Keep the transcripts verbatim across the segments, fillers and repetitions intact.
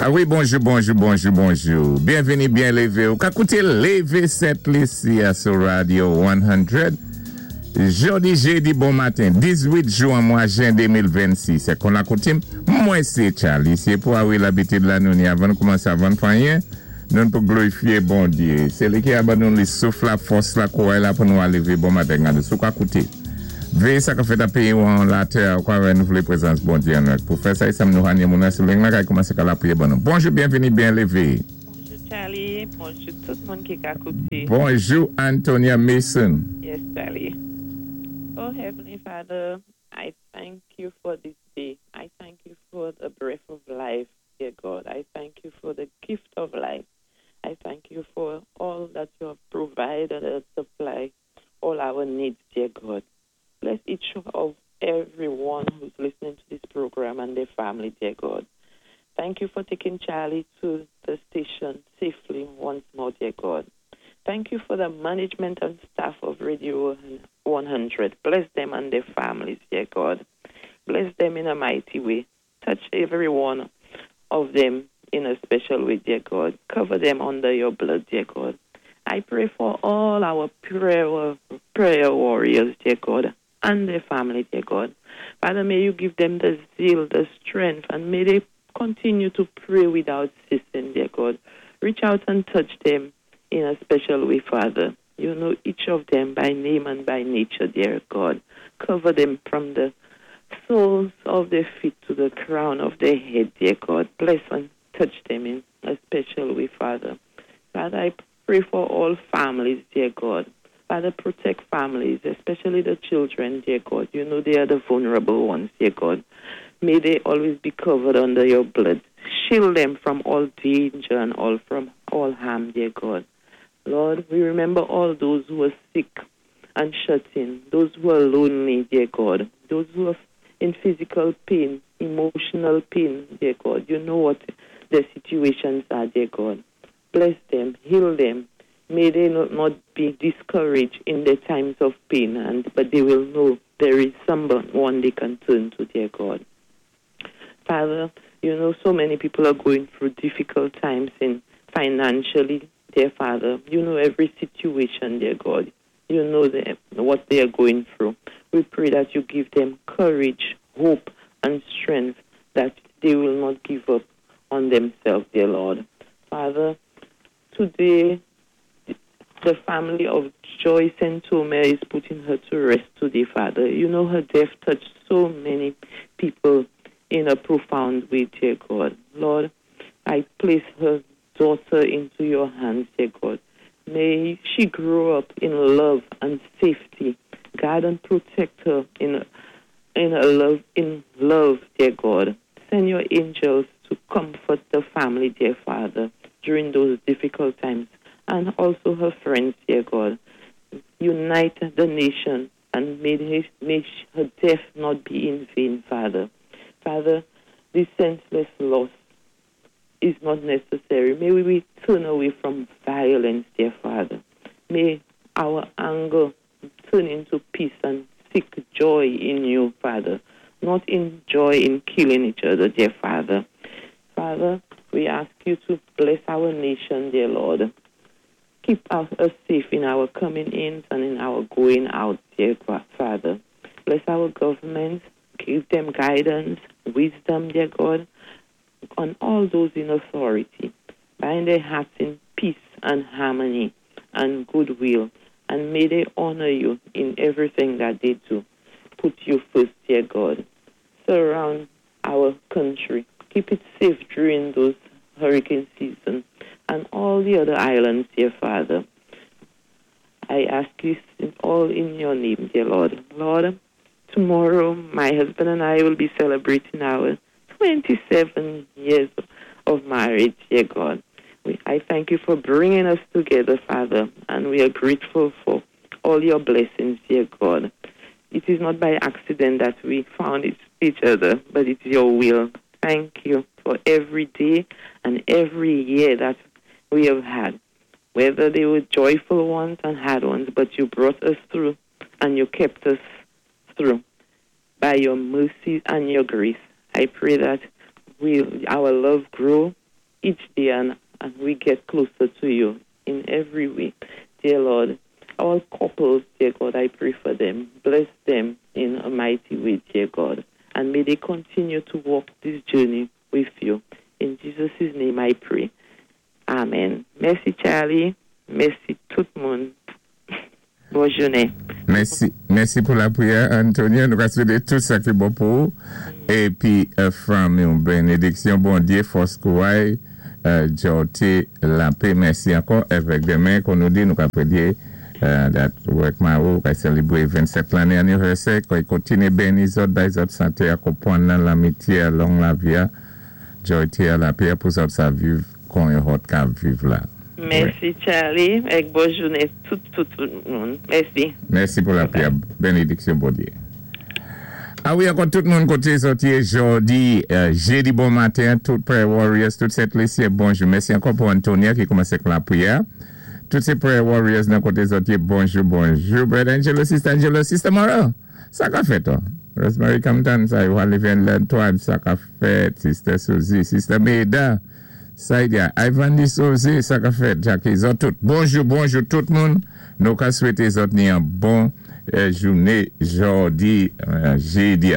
A wi, bonjou, bonjou, bonjou, bonjou. Byenvini, byen lévé. Ou ka kouté Lévé Sent Lisi sou Radio san. Jodi jédi bon maten, dizuit jwen mwa jen de mil vennsis. Sé kon lakoutim, mwen sé Charlie. Sé pou awi labitid la nou ni avan koumansé, avan fanyen, nou pou glorifyé Bondyé. Sé li ki a ban nou li souf la, fòs la, kouway la pou nou alévé bon maten gade. Sou ka kouté. Véyé sa ka fèt a péyi ou an latè, kwa renouvlé prézans Bondyé an nou. Pou fè sa, isam nou hanye moun an, sou leng la kay koumansé ka la priyé ban nou. Bonjou, byenvini, byen lévé. Bonjou Charlie, bonjou tout moun ki ka kouté. Bonjou Antonia Mason. Yes, Charlie. Oh, Heavenly Father, I thank you for this day. I thank you for the breath of life, dear God. I thank you for the gift of life. I thank you for all that you have provided and supply all our needs, dear God. Bless each of everyone who's listening to this program and their family, dear God. Thank you for taking Charlie to the station safely once more, dear God. Thank you for the management and staff of Radio one hundred. Bless them and their families, dear God. Bless them in a mighty way. Touch every one of them in a special way, dear God. Cover them under your blood, dear God. I pray for all our prayer, prayer warriors, dear God, and their family, dear God. Father, may you give them the zeal, the strength, and may they continue to pray without ceasing, dear God. Reach out and touch them in a special way, Father. You know each of them by name and by nature, dear God. Cover them from the soles of their feet to the crown of their head, dear God. Bless and touch them in a special way, Father. Father, I pray for all families, dear God. Father, protect families, especially the children, dear God. You know they are the vulnerable ones, dear God. May they always be covered under your blood. Shield them from all danger and all from all harm, dear God. Lord, we remember all those who are sick and shut in, those who are lonely, dear God, those who are in physical pain, emotional pain, dear God. You know what their situations are, dear God. Bless them, heal them. May they not, not be discouraged in their times of pain, and but they will know there is someone they can turn to, dear God. Father, you know so many people are going through difficult times in financially, dear Father. You know every situation, dear God. You know them, what they are going through. We pray that you give them courage, hope, and strength that they will not give up on themselves, dear Lord. Father, today the family of Joyce and Tome is putting her to rest today, Father. You know her death touched so many people in a profound way, dear God. Lord, I place her daughter into your hands, dear God. May she grow up in love and safety. Guide and protect her in in a love in love, dear God. Send your angels to comfort the family, dear Father, during those difficult times, and also her friends, dear God. Unite the nation and may, his, may her death not be in vain, Father. Father, this senseless loss is not necessary. May we turn away from violence, dear Father. May our anger turn into peace and seek joy in you, Father, not in joy in killing each other, dear Father. Father, we ask you to bless our nation, dear Lord. Keep us safe in our coming in and in our going out, dear Father. Bless our government. Give them guidance, wisdom, dear God, on all those in authority. Bind their hearts in peace and harmony and goodwill, and may they honor you in everything that they do. Put you first, dear God. Surround our country. Keep it safe during those hurricane season and all the other islands, dear Father. I ask you all in your name, dear Lord. Lord, tomorrow my husband and I will be celebrating our twenty-seven years of marriage, dear God. We, I thank you for bringing us together, Father, and we are grateful for all your blessings, dear God. It is not by accident that we found each other, but it's your will. Thank you for every day and every year that we have had, whether they were joyful ones and hard ones, but you brought us through and you kept us through by your mercy and your grace. I pray that we, our love grow. each day and, and we get closer to you in every way. Dear Lord, all couples, dear God, I pray for them. Bless them in a mighty way, dear God. And may they continue to walk this journey with you. In Jesus' name I pray. Amen. Mèsi, Charlie. Mèsi tout moun. Bonne journée. Mèsi, mèsi pou lapriyè, Antonia. Nou ka swété tout sa ki bon pou ou. Épi, euh, fanmi, yon bénédiksyon, Bondyé, fòs kouray, euh, jòté, lapè. Mèsi ankò. Avèk denmen, kon nou di, nou ka prédyé, euh, dat wèk Maro, ka sélébwé vennsèt lanné anivèsè, ki kontiné béni zòt, bay zòt santé, akonpwann nan lanmityé, long lavi, jòté, lapè pou zòt sa viv, kon yon hot ka viv la. Mèsi, Charlie. É bonne journée tout, tout, tout moun. Mèsi. Mèsi pou lapriyè. Bénédiksyon, Bondyé. A wi, ankò tout moun koté zòt yé jòdi, euh, jédi bon maten, tout Prayer Warriors, tout Sent Lisi, bonjou. Mèsi ankò pou Antonia ki koumansé ak lapriyè. Tout sé Prayer Warriors nan koté zòt yé, bonjou, bonjou. Brother Angelo, Sister Angelo, Sister Mara, sa ka fèt, oh. Rosemary Compton, sa yo ale L'Antoine, sa ka fèt. Sister Suzy, Sister Meda, Saidia, Ivan Di Suzy, sa ka fèt. Jackie, zòt tout. Bonjou, bonjou tout moun. Nou ka swété zòt ni yon bon euh, jouné jòdi, euh, jédi.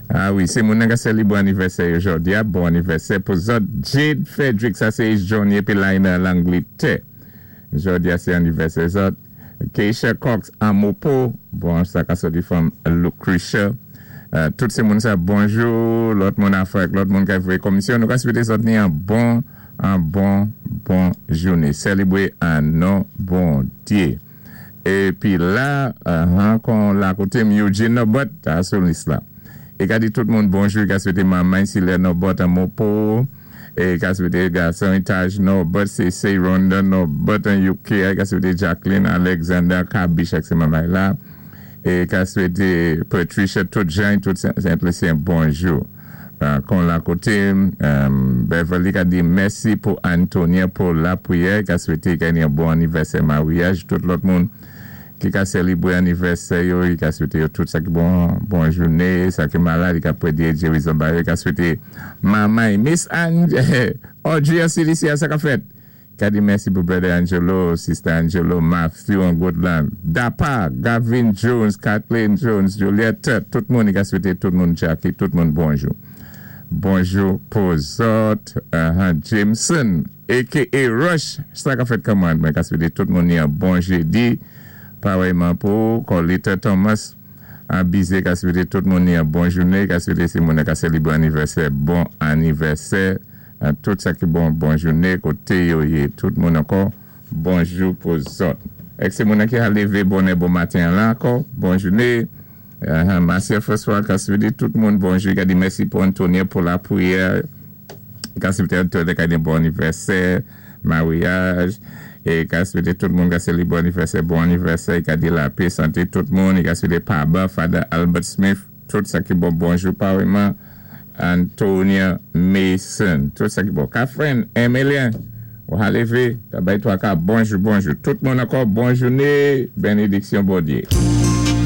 A wi, sé moun ki sélébwé anivèsè jòdi, bon anivèsè pou zòt. Jade Frederick, sa sé Johnny épi Lina Langletè. Jòdi sé anivèsè zòt. Keisha Cox Amopo, bon, sa ka sòti from Lucretia. Euh, tout sé moun sa, bonjou. Lòt moun Afrik, lòt moun ki fè komisyon. Nou ka swété zòt ni yon bon, yon bon, bon jouné. Sélébwé an non Bondyé. Épi la, uh, kon la koté Eugene Nobot, ta sou lis la. É ka di tout moun bonjou, ka swété manman Sile Nobot an Mopo, é ka swété gason Taj Nobot, C C Ronda Nobot an U K, ka swété Jacqueline Alexander Kabish ak sé manman la. É ka swété Patricia, tout Jean, tout Saint-Lucien, bonjou. Euh, kon la koté, euh, Beverly ka di mèsi pou Antonia pou lapriyè, ka swété genyen bon anivèsè maryaj, tout lòt moun ki ka sélébwé anivèsè yo, ka swété yo tout sa ki bon, bon jouné, sa ki malad, ka prédyé gérizon ba yo, ka swété manman, Miss Ange, Audrey Cilicia, sa ka fèt. Ka di mèsi pou Brother Angelo, Sister Angelo, Matthew an Goodland, Dapa, Gavin Jones, Kathleen Jones, Juliette, tout moun, ka swété tout moun Jackie, tout moun bonjou. Bonjou pou zòt, uh, Jameson, A K A Rush, sa ka fèt kòman, mwen ka swété tout moun yon bon jédi, parèyman pou Colita Thomas, an bizé ka swété tout moun yon bon jouné, ka swété si moun ka sélébwé anivèsè, bon anivèsè, uh, tout sa ki bon, bon jouné, koté yo yé, tout moun ankò, bonjou pou zòt. Èk sé moun ki a lévé bonè bon maten la ankò, bon jouné. Uh, Marcia François ka swété tout moun bonjou, ka di mèsi pou Antonia pou lapriyè, ka swété Antonia ka di bon anivèsè, maryaj, é ka swété tout moun ka sélébwé anivèsè, bon anivèsè, ka di lapè, santé tout moun, ka swété Paba, Father Albert Smith, tout sa ki bon, bonjou parèyman, Antonia Mason, tout sa ki bon. Catherine, Emilien, ou a lévé, ta bay twa ka, bonjou, bonjou. Tout moun ankò, bon jouné, bénédiksyon Bondyé.